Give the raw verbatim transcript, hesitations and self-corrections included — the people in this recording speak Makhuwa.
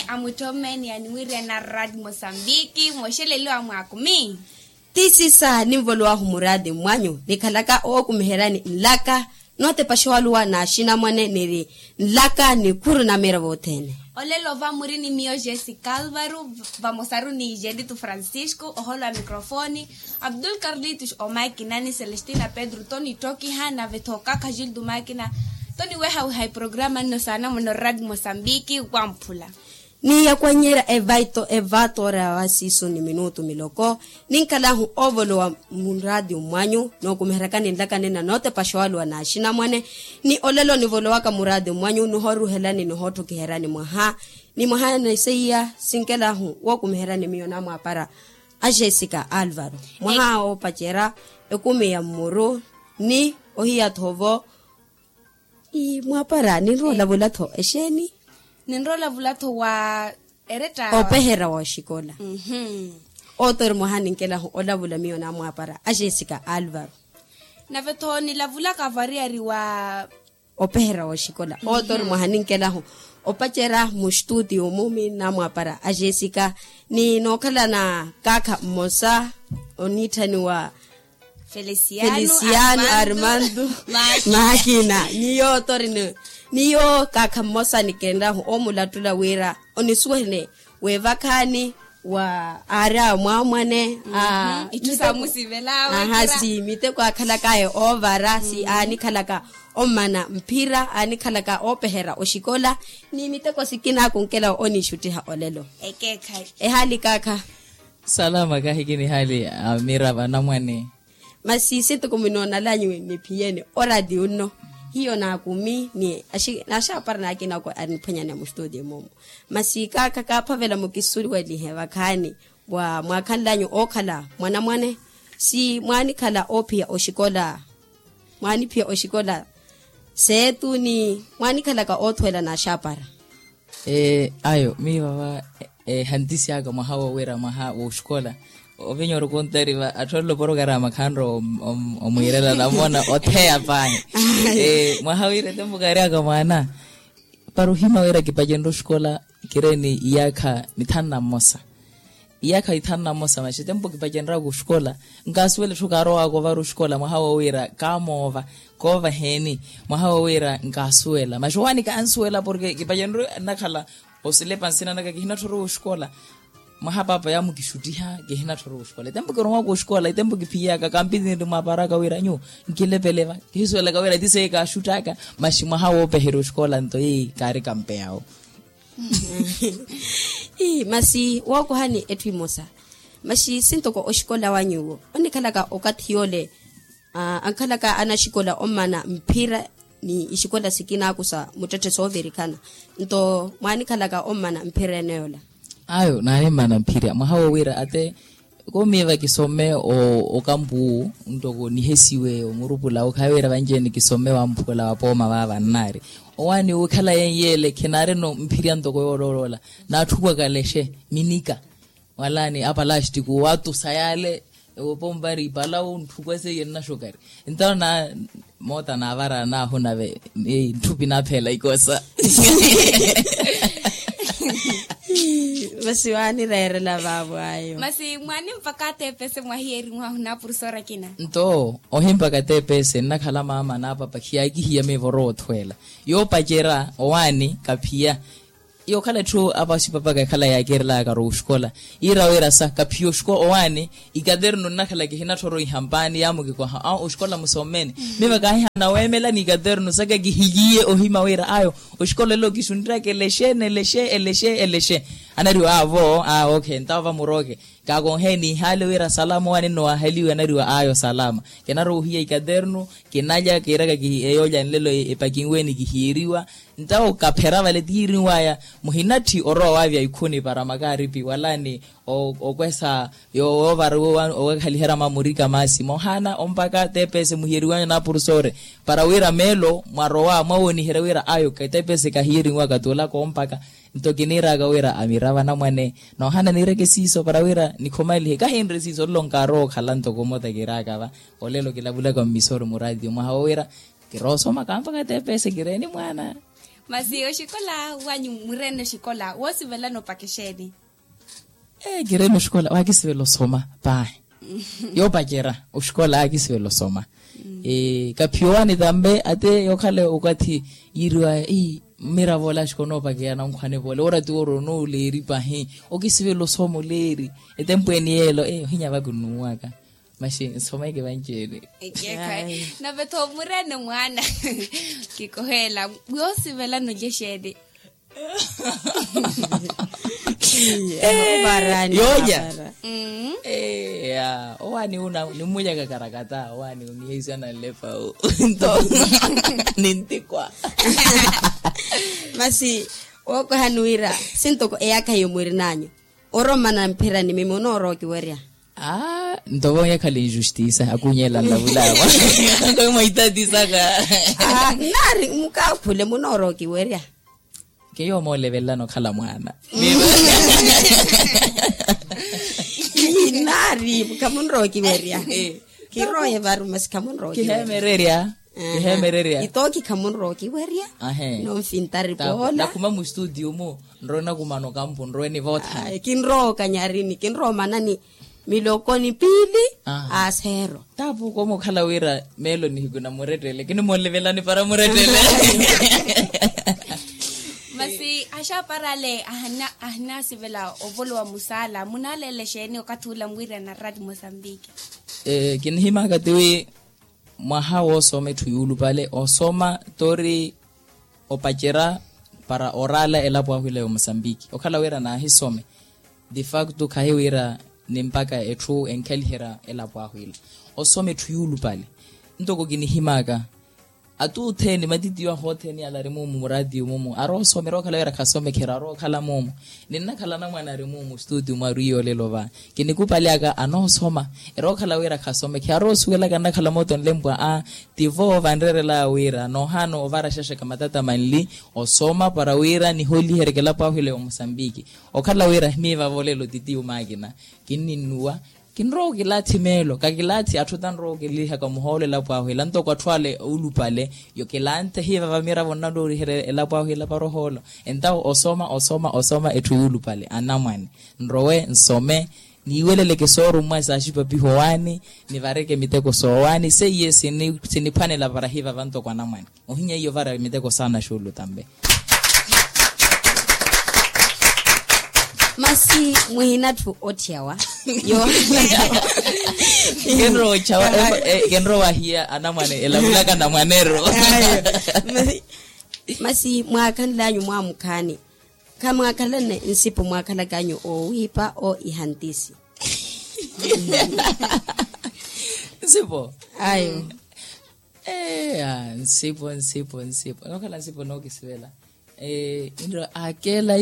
Amutthomeni animwiriyana rad mosambiki mooxeleliwa mwaakumi. Tisisa ninvolowahu muradi mwanyu nikhalaka ookumiheryani nlaka nootepaxa owaluwa n'axinamwane niri nlaka nikhuru na miira vothene. Olelo va muri ni miyo jessica alvaro, vamosaru ni jelitu francisco oholo wa microfoni, abdul carlitus omakina ni celestina pedro toni tokiha nave thoka khajildu makina. Toni wehaweha iprograma nno saana muno rad mosambiki wamphula. Ni yakwanyerya evaito evatora wa siiso ni minutu miloko. Ninkhalahu ovolowa muradio mwanyu nookumiheryakani nlaka nina nootepaxa owaluwa n'axinamwane. Ni olelo nivolowaka muradio mwanyu nihooruhelani nihootthokiheryani mwaha ni mwaha niseiya sinkelahu wookumiheryani miyo namwaapara a jessica alvaro mwaha oopacerya ekumi ya mmuru ni ohiya-tho vo. Mwaapara ninrowa olavula-tho exeeni? Ninrowa olavula-tho wa eretta opeherya wa oxikola. Oto ori mwaha ninkelahu olavula miyo namwaapara a jessica alvaro. Nave-tho nilavulaka variyari wa opeherya wa oxikola oto ori mwaha ninkelahu opacerya muxtuti omu mi namwaapara a jessica ni nookhalana kaakha mmosa oniitthaniwa feliciano armando makina. Niyo oto ori ni niyo kaakha mmosa nikenrahu omulattula wira onisuwene weevakhaani wa aari a mwaamwane a itthu saamusivelawe aha si miteko akhalakaya oovara si aanikhalaka ommana mphira aanikhalaka oopeherya oxikola ni miteko sikina akunkela oniixuttiha olelo. Ekeekhayi ehaali kaakha. Salama kahi kinihaali amira vanamwane. Masi sintuku minoonalanyuwe niphiyene oradio nno hiyo naakumi ni axaapara naakina ako aniphwanyana muxtudio moomu. Masi kaakha kaaphavela mukisuwelihe vakhaani wa mwaakhanlanyu ookhala mwanamwane si mwaanikhala oophiya oxikola mwaaniphiya oxikola seetu ni mwaanikhalaka oothuwela n'axaapara. Ayo miyo vava ehantisi aka mwaha wowira mwaha woxikola ovinya ori okontari va atthu aloporo kari amakhanro omwiirela namona otheya pahi. Mwaha wira etempo kaari aka mwaana para ohima wira kipacenre oxikola kireeni iyaakha mithanu na mmosa. Iyaakha ithanu na mmosa maxi etempo kipacenraka oxikola nkaasuwela etthu kaarowaka ovara oxikola mwaha wowira kaamoova koova eheeni. Mwaha wowira nkaasuwela maxi owaani kansuwela porke kipacenre nnakhala osilepa nsina naka kihinatthorowa oxikola. Mwaha paapa yaamukixuttiha kihinatthorowa oxikola etempo kirowaka oxikola etempo kiphiyaka kampiti niri mwaaparaka wira nyuwo nkilepele va kihisuwelaka wira ti seiye kaaxuttaka. Maxi mwaha woopeherya oxikola nto eyi kaari kampeyawo. Masi wookohani etthu emosa masi sintoko oxikola wa nyuwo onikhalaka okathi yoole ankhalaka anaxikola ommana mphira ni ixikola sikinaku sa muttetthe soovirikhana nto mwaanikhalaka ommana mphira ene yoola? Ayo naanimmana mphira mwaha wowira ate komiiva kisome okampu ntoko nihesiwe omurupula okhayi wira vanci-ene kisome wamphula wa pooma vaava nnaari owaani wikhala yenyeele khinaarino mphirya ntoko yooloola naatthukwaka lexe minika walaani apalastiku watusa yaale ewopompari ipalawu ntthukwaseiye nnaxokari. Entawo na moota naavara naahu nave ntthupi naaphela ikosa. Masi waanireerela vaavo ayo masi mwaani mpakha atepese mwahiyerinwahu naapurusora kina. Nto ohimpaka atepese nnakhala maama naapapa khiyakihiya miivoro woothweela yoopacerya owaani kaphiya. Yookhala etthu apa oxipapaka ekhala yaakerelaka aro oxikola yiira wira sa kaphiya oxikola owaani ikaternu nnakhala kihinatthoro ihampaani yaamukikoha a oxikola musommeni. Miva kaahihana weemela ni ikaternu saka kihiliye ohima wira ayo oxikola elo kixunttyaka elexe nelexe elexe elexe. Anariwa avo a ok entawo vamuroke kaakonheeni ihaale wira salama owaani nno waahaliwe anariwa ayo salama. Kinarowa ohiya ikaternu kinalya kiiraka eyoolya nlelo epakinweeni kihiyeriwa. Ntawo kaphera vale tihirinwaya muhinatthi orowa waavya ikhuni para makaaripi wala ni okwesa yoovara owekhaliherya mamurika masi moohana ompaka tepese muhiyeriwanyu na purusore para wira meelo mwarowa mwawooniherya wira ayo tepese kahiyerinwaka tuulaka ompaka. Nto kiniiraka wira amirava namwane noohana niireke siiso para wira nikhomalihe kahinre siiso nlo nkaarowa okhala ntoko mota kiiraka va olelo kilavulaka mmisoro muraatiyo mwaha wowira kiroosoma kampaka tepese kireeni mwaana. Masi oxikola wanyu murene oxikola woosivelana opaka exeeni? Ee kireene oxikola waakisivela osoma paahi. Yoopacerya oxikola aakisivela osoma. Kaphiya owaani tambe ate yookhala okathi yiiriwa. Mmiravo ole axikola onoopakeya nankhwane vole oora ti woora onooleeri pahi okisivela osoma oleeri. Etempweeni yeelo ohinya vakunnuwaka. Maxi nsomeke vanci-ene. Nave-tho murene mwaana kikoheela woosivelana olya exeeni? Yoonya. Owaani una nimmulya kakarakata owaani uniheisana nlepa. Nto nintikwa. Masi wookwaha niwira sintoko eyakha iyo mwirinanyu orommana mphirani mimi onoorowa okiwerya? Aa nto vonya ekhale injustisa akunyela nlavulavo. Mwaitatisaka. Nari mukaakhule munoorowa okiwerya? Keyo moolevelelana okhala mwaana. Nari khamunrowa okiwerya. Kiroye varu masi khamunrowa okiwerya. Kiheemererya. Kiheemererya. Itooki khamunrowa okiwerya. Nomfintari poola nakhuma mustudio mu nrowe nakumana okampu nrowe nivootha. Kinrowa okanyarini kinrowa omanani milokoni piili. Aseero. Tapuko mukhala wira meelo nihiku namurettele kinimoolevela nipara murettele. Masi axaparale ahinasivela ovolowa musaala munaaleela exeeni okathi ula mwiirana rati mosambiki? Kinihimaka tiwi mwaha woosoma etthu yuulupale osoma tori opacerya para oraala elapo ahwila ya omosambiki okhala wira naahisome. De facto khahi wira ni mpakha etthu enkhaliherya elapo ahwila osoma etthu yuulupale. Ntoko kinihimaka atuutheni matitiyo ahu otheni ala ari mumu muraatiyo mumu aroosoma erookhala wira khasomekherya arookhala mumu. Ninnakhala anamwane ari mumu studio mwaru iyo olelo va kinikupalyaka anoosoma erookhala wira khasomekherya aroosuwelaka nnakhala mooto nlempwa a tivo vanreerelaya wira noohaana ovara xaxaka matata manli osoma para wira niholihereke elapo ahwila ya omosambiki. Okhala wira miiva volelo titiyo maakina kinninnuwa. Kinrowa okilaathi meelo kakilaathi atthu tanrowa okilihaka muhoolo elapo ahwila ntoko atthu ale oulupale. Yo kilanthe hiivava miravo nnalooriherya elapo ahwila para ohoolo. Entawo osoma osoma osoma etthu yuulupale anamwane nrowe nsome niiweleleke soorummwa saaxipapiho owaani nivareke miteko soowaani seiye siniphwanela para hiivava ntoko anamwane. Ohinya iyo vara miteko saana xuulu tambe. Masi muhina atthu otthiyawa. Yo kenrowa otthiyawa. Kenrowa wahiya anamwane elavulaka anamwaneru. Masi mwaakhanlanyu mwaamukhaani khamwaakhalane nsipo mwaakhalak'anyu oowiipa o ihantisi? Nsipo ayo. Eya nsipo nsipo nsipo nookhala nsipo nookisivela. Nro akela